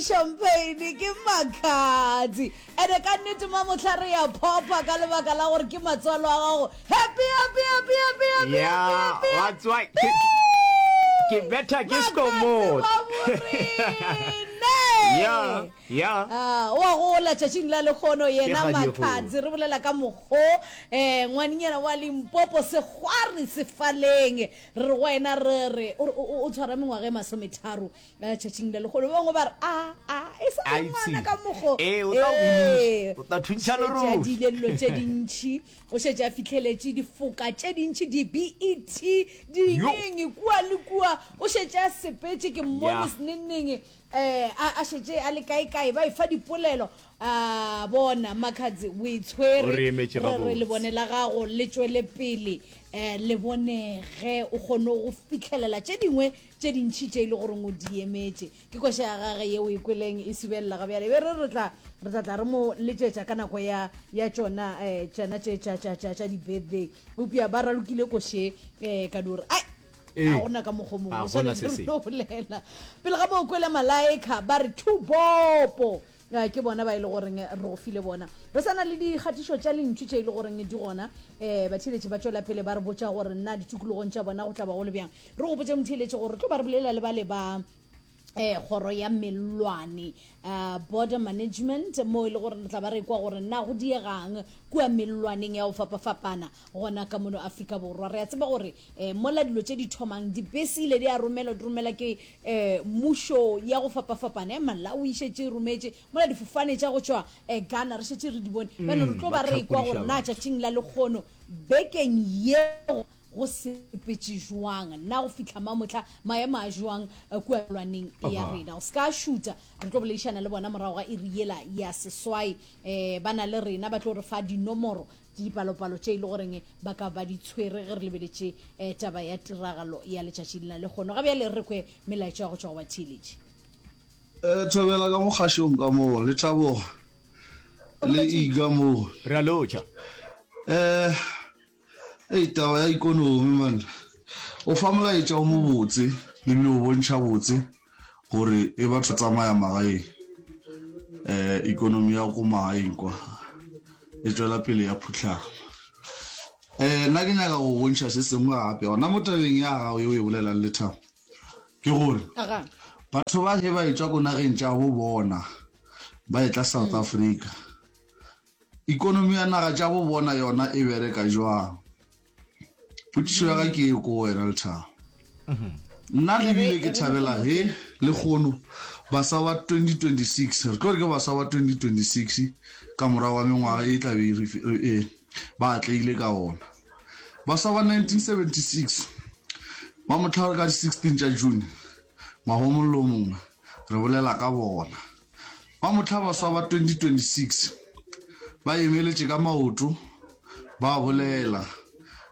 champagne ke Makhadzi. Ene ka nnete mamohla re ya phopha ka lebaka la gore ke matswalo a gago. Happy happy happy happy happy Yeah, happy happy. that's why ke ke better ke skomot. Yeah, yeah. Ah, o a gola tšatšing la lekgono yena Ke kgadi e kgolo. Makhadzi re bolela ka mokgo um ngwanenyana wa Limpopo sekgwari sefaleng Re re go wena re re, o re o, o tshwara mengwaga e masometharo eh, tšatšing le legolo. Ba bangwe ba re, a, a, e sa le ngwana ka mokgo. Ee, o tla Ee, o tla thuntšha šetše a lerole. diile dilo tše dintši, o šetše a fihleletše difoka tše dintši, di-BET, Yo. dingeng, kua le kua. O šetše a sepetše, ke mmone Ya. senengneng, eh, a, a šetše a le kae-kae, ba efa dipolelo. A bona, Makhadzi, o e tshwere. O re emetše Re re gabotse. lebone la gago le tšwele pele um le bonege, o kgone go fihlelela tše dingwe tše dintši tše e le goreng o di emetše. Ke koša ya gage ye o e kweleng e subelela ga bjale. Be re re tla re tla tla re mo letšetša ka nako ya ya tšona um tšona tše tša tša tša tša di-birthday. Eupša ba ralokile koše um ka no re ai Ee. ga gona ka mokgwa o mongwe Ga o gona swanetše se re sengwe. no bolela. Pele ga moo kwele Malaika ba re Thubopo. Ke bona ba e le goreng re go file bona. Re sa na le dikgatišo tša lentšu tše e le goreng di gona. Um batheeletši ba tšwela pele ba re botša gore na ditikologong tša bona go tla ba go le bjang. Re gopotše motheeletši gore re tlo ba re bolela le bale ba um kgoro ya mellwane, uh, border management, mo e le gore re tla ba re kwa gore na go diegang kua mellwaneng ya go fapafapana gona ka mono Afrika Borwa. Re a tseba gore um mola dilo tše di thomang, dibese ile di a romelwa, di romela ke um mmušo ya go fapafapana. Ya Malawi e šetše e rometše, mola difofane tša go tšwa um Ghana re šetše re di bone. Bjale re tlo ba ba re ekwa gore hlakodiša na batho. tšatšing la lekgono, bekeng ye, go sepetše jwang, na go fihla mamohla maemo a jwang kua lwaneng ya Aha. rena. O se ka šuta, re tlo boledišana le bona morago ga iri yela ya seswai. Um ba na le rena, ba tlo re fa dinomoro dipalopalo tše e le goreng ba ka ba di tshwere ge re lebeletše eh, taba ya tiragalo ya letšatši la lehono. Ga bjale re kwe melaetša ya go tšwa go batheeletši. Eh, thobela ka mo kgašong ka mo, le Thabogo le Iga mo. Re a lotšha. Eh, ei taba ya ikonomi man. O fa molaetša o mobotse ebile o bontšha botse gore e batho tsamaya magaeng um ikonomi ya ko magaeng kwa e tšwela pele ya phuhlama. Um nna ke nyaka go bontšha se sengwe gape gona mo tabeng ya gago ye o e bolelang Lethabo, ke gore batho ba ge ba etšwa ko nageng tša bo bona ba etla South Africa, ikonomi ya naga tša bo bona yona e bereka jwang? Potšišo ya ka ke ye ko wena Lethabo. Nna le bile ke thabela ge lekgono basa ba 2026, re tlo re ke basa ba 2026 ka morago ga mengwaga e tla be e ba atlegile ka ona. Basa ba 1976 ba mohla ka di 16 tša June ngwaga o mongwe le o mongwe re bolela ka bona. Ba mohla baswa ba 2026 ba emeletše ka maoto ba bolela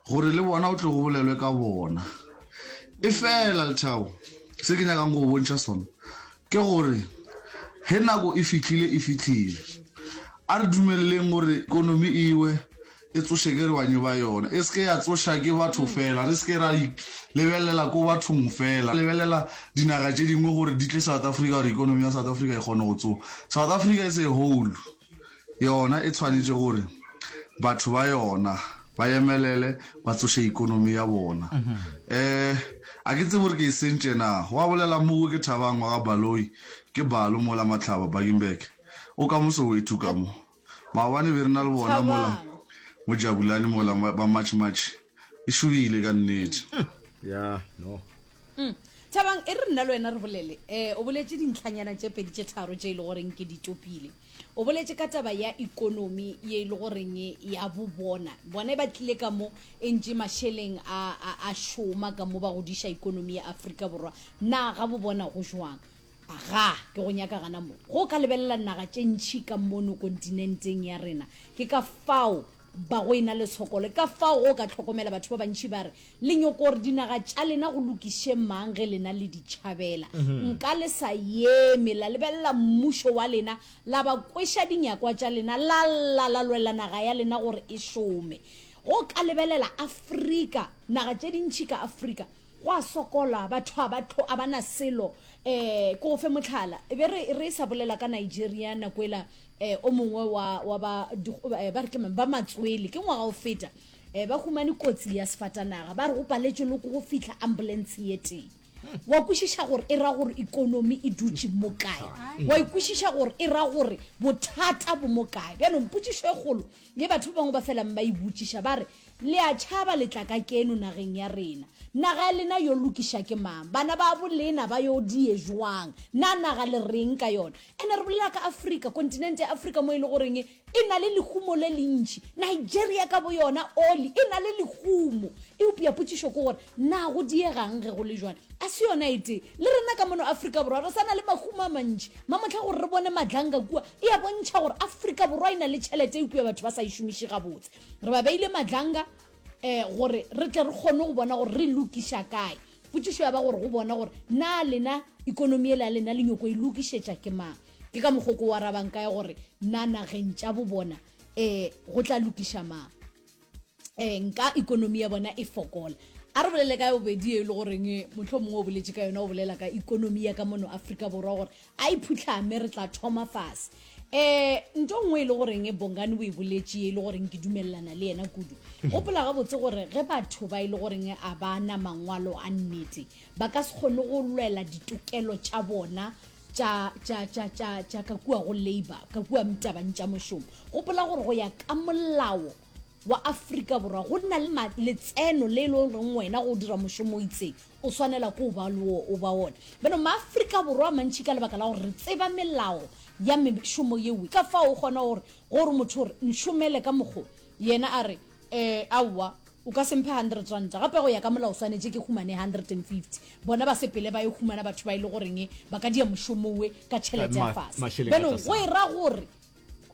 gore le bona o tle go bolelwe ka bona. Efela, Lethabo, se ke nyakang go go bontšha sona ke gore ge nako e fihlile, e fihlile. A re dumeleleng gore ekonomi e we e tsoše ke re banye ba yona, e se ke ya tsoša ke batho fela. Re se ke ra lebelela ko bathong fela, lebelela dinaga tše dingwe gore di tle South Africa gore economy ya South Africa e kgone go tsoga. South Africa as a whole yona e tshwanetše gore batho ba yona ba emelele ba tsoše economy ya bona. Um a ke tsebe gore ke e sentše na. Gwa bolela Mogo ke Thabang wa ga Baloyi, ke Balo mola Mahlaba, Bakenberg. O ka mo Soweto ka mo. Maobane be re na le bona mola mo Jabulani mola ba March March e šobile ka nnete. Ya no. Mm. Thabang, e re nna le wena re bolele. Eh, o boletše dintlhanyana tše pedi tše tharo tše e le goreng ke di topile. O boletše ka taba ya ikonomi ye e le goreng ya bo bona. Bona ba tlile ka mo e ntše mašeleng a, a, a šoma ka mo ba godiša ikonomi ya Afrika Borwa. Na ga bo bona go jwang? Agaa, ke go nyaka gana mo. Ge o ka lebelela naga tše ntši ka mono kontinenteng ya rena, ke ka fao ba go e-na le tshokolo. Ke ka fao ge o ka hlokomela batho ba bantši ba re, Le nyoko gore dinaga tša lena go lokiše mang ge lena le di tšhabela? Nka le sa eme la lebelela mmušo wa lena, la ba kweša dinyakwa tša lena, la lla la lwela naga ya lena gore e šome. Ge o ka lebelela Afrika, naga tše dintši ka Afrika, Go a sokola, batho a ba tlo, a ba na selo. Um ke go fe mohlala, e be re re sa bolela ka Nigeria nako ela um o mongwe wa wa ba ba re ke mang ba matswele ke ngwaga o feta um ba humane kotsi ya sefatanaga ba re go paletšwe le go fihla ambulance ye tee. Wa kwešiša gore e ra gore ikonomi e dutše mo kae? Wa ikwešiša gore e ra gore bothata bo mo kae? Bjanong potšišo e kgolo ye batho ba bangwe ba felang ba e botšiša ba re, Le a tšhaba le tla ka keno nageng ya rena. Naga ya lena yo lokiša ke mang? Bana ba bo lena ba yo die jwang? Na naga le reng ka yona? Ene re bolela ka Afrika, kontinente ya Afrika mo e le goreng e na le lehumo le lentši. Nigeria ka boyona, oli, e na le lehumo. Eupša potšišo ke gore, na go diegang ge go le jwale? A se yona e tee. Le rena ka mono Afrika Borwa re sa na le mahumo a mantši. Mamohla gore re bone madlanga kua, e a bontšha gore Afrika Borwa e na le tšhelete eupša batho ba sa e šomiše gabotse. Re ba beile madlanga um gore re tle re kgone go bona gore re lokiša kae. Potšišo ya ba gore go bona gore na lena ikonomi yela ya lena le nyoko e lokišetša ke mang. Ke ka mokgo ko o arabang kae gore na nageng tša bo bona um go tla lokiša mang. Um nka ikonomi ya bona e fokola. A re bolele ka ya bobedi ye e le goreng mohlomongwe o boletše ka yona o bolela ka ikonomi ya ka mono Afrika Borwa gore A e phuhlame, re tla thoma fase. Um nto nngwe e le goreng Bongani o e boletše ye e le goreng ke dumelelana le yena kudu. Gopola gabotse gore ge batho ba e le goreng a ba na mangwalo a nnete, ba ka se kgone go lwela ditokelo tša bona tša, tša, tša, tša, tša ka kua go labour, ka kua tabeng tša mošomo. Gopola gore go ya ka molao wa Afrika Borwa go na le letseno le e le goreng wena go dira mošomo o itseng o swanela ke o ba le o ba wona. Bjalo maAfrika Borwa a mantši ka lebaka la gore re tseba melao ya mešomo yeo ka fao o kgona gore gore motho o re nšomele ka mokgo yena a re eh aowa o ka se mphe 100 ranta gape go ya ka molao swanetše ke humane 150 bona ba sepele ba yo humana batho ba e le goreng ba ka dia mošomo we ka tšhelete ya fase. Bjalo go e ra gore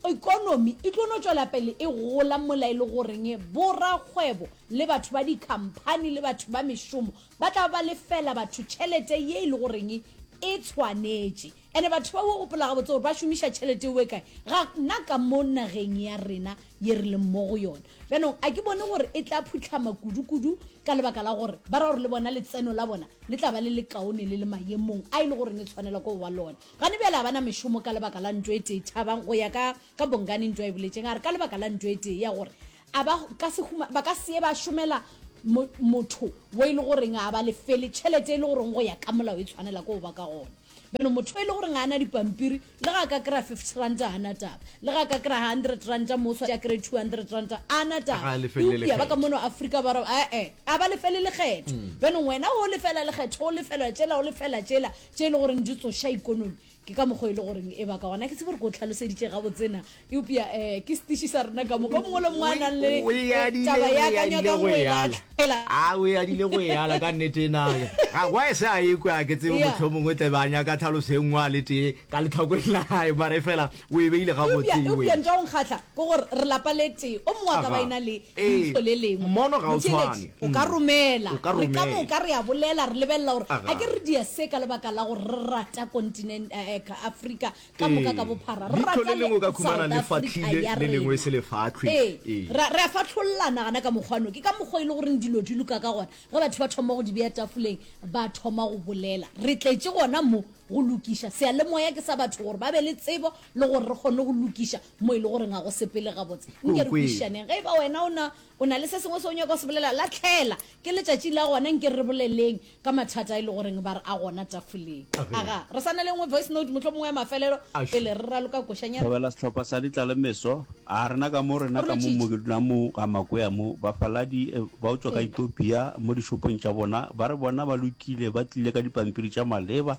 Ekonomi e tlo no tšwela pele e gola mola e le goreng borakgwebo le batho ba dikhamphani le batho ba mešomo ba tla ba lefela batho tšhelete ye e le goreng e tshwanetše. Ene batho ba o gopola gabotse gore ba šomiša tšhelete eo e kae? Ga na ka mo nageng ya rena ye re leng mo go yona. Bjanong a ke bone gore e tla phuhlama kudu-kudu ka lebaka la gore ba ra gore le bona letseno la bona le tla ba le lekaone le le maemong a e le goreng e tshwanela ke go ba lona. Gane bjale ga ba na mešomo ka lebaka la ntwa e tee. Thabang, go ya ka, ka Bongani ntwa e boletšeng, a re ka lebaka la ntwa e tee ya gore a ba ka se huma, ba ka se ye ba šomela mo, motho wo e le goreng a ba lefele tšhelete e le goreng go ya ka molao e tshwanela ke go ba ka gona. Bjalo motho e le goreng ga a na dipampiri, le ga a ka kry-a fifty ranta ga a na taba, le ga a ka kry-a hundred ranta mo o swanetše a kry-e 200 ranta a na Ga taba. a lefele Eupša ba ka lekgetho. mono Afrika Borwa, e-e, a ba lefele lekgetho. Bjanong wena o lefela lekgetho, o lefela tšela, o lefela tšela, Tše e le goreng di tsoša ikonomi, ke ka mokgwa e le goreng e ba ka gona. Ke tsebe gore ke o tlhaloseditše gabotse na, eupša um ke setiši sa rena ka moka. O mongwe le mongwe a nang le taba ya ka nyakang go e lahlela. A o e adile go e ala ka nnete na. Ga gwa e se a ekwe a ke tsebe mohlomongwe tle ba nyaka tlhaloso e nngwe a le tee ka letlhakoreng la gae mara efela o e beile gabotse Eupša, eupša ntho ya go nkgahla ke gore re lapa le tee, o mongwe a ka ba e na le leihlo le lengwe. Mmono ga o Motheeletši, tshwane. o ka romela. O ka Re ka romela. moka re a bolela, re lebelela gore Aga. a ke re dia se ka lebaka la gore re rata kontinent, eh, eh, Afrika ka moka ka Ee. bophara. Re Leihlo rata le lengwe o ka le khumana South le Africa fahlile, ya le lengwe rena. se le fahlwe. Ee. Ee. Ra, re a fahlollana gana ka mokgwa no. Ke ka mokgwa e le goreng dilo di loka ka gona. Ge batho ba thoma go di bea tafoleng, ba thoma go bolela. Re tletše gona mo go lokiša. Seyalemoya ke sa batho gore ba be le tsebo le gore re kgone go lokiša mo e le goreng ga go sepele gabotse. Nke re kwešišaneng. Ge e ba wena o na, o na le se sengwe se o nyaka go se bolela, lahlela. Ke letšatši la gona, nke re boleleng ka mathata a e le goreng ba re a gona tafoleng. Aga, re sa na le nngwe voice note mohlomongwe ya mafelelo pele re raloka košanyana. Thobela sehlopha sa Ditlalemeso, A rena ka mo, rena ka mo, mo ke dulang mo ga Makwea mo, bafaladi ba go tšwa ka Ethiopia mo dishopong tša bona, ba re bona ba lokile, ba tlile ka dipampiri tša maleba,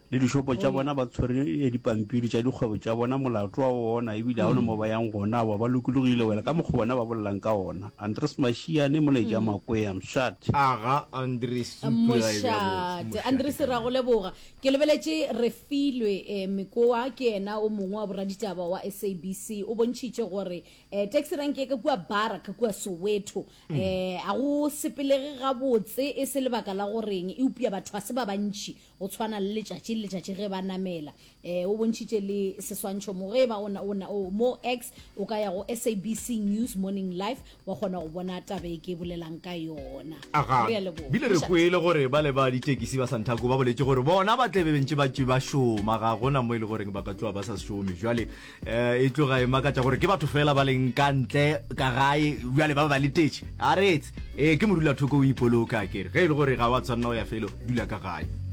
le dishopo tša bona ba tshwere dipampiri tša dikgwebo tša bona, molato wa ona, ebile ga o na mo ba yang gona, aowa ba lokologile wela ka mokgwa bona ba bolelang ka ona. Andres Mashiane, Molaetša Makwea, Mshat. Aga Andres Supula e bea botse. Mošate. Andres, re a go leboga. Ke lebeletše Refilwe Mekoa, ke yena o mongwe wa boraditaba wa SABC, o bontšhitše gore taxi rank ya ka kua Bara ka kua Soweto ga go sepelege gabotse e se lebaka la goreng eupša batho ga se ba bantši go tshwana le letšatši. le letšatši ge ba namela. Eh, o bontšhitše le seswantšho mo ge e ba o na, o na, o, mo X o ka ya go SABC News Morning Live wa kgona go bona taba e ke bolelang ka yona. Aga, Re a leboga. bile re kwele gore ba le ba ditekisi ba Santaco ba boletše gore bona ba tle be bentše ba tše ba šoma, ga gona mo e le goreng ba ka tloga ba sa šome. Jwale eh, e tloga e makatša gore ke batho fela ba leng ka ntle ka gae bjale ba ba letetše. A re etse, eh, ke modulathoko o ipoloka akere. Ge e le gore ga wa tshwanela go ya felo, dula ka gae.